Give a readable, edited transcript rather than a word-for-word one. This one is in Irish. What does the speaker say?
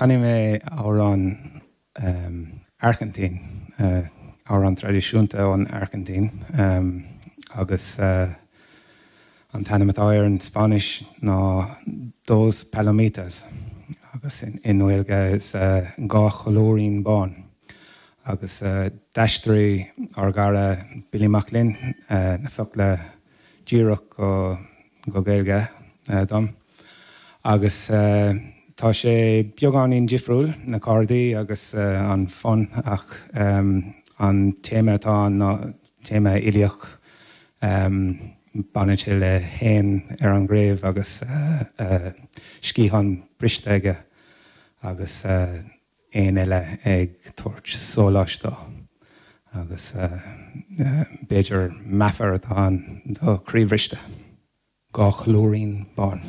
Canfaidh mé amhrán Airgintín, amhrán traidisiúnta ón Airgintín agus an t-ainm atá air in Spáinnis ná Dos Palomitas agus i nGaeilge is Dhá Cholúirín Bán agus d'aistrigh ár gcara Billy Mac Fhloinn na focla díreach go Gaeilge dom agus tá sé beagáinín difriúil, na cordaí agus an fonn ach an téama atá ann ná téama uilíoch, baineann sé le héan ar an gcraobh agus sciathán briste aige agus éan eile ag tabhairt sóláis dó agus b'fhéidir meafar atá ann do chroí bhriste. Dhá Cholúirín Bán.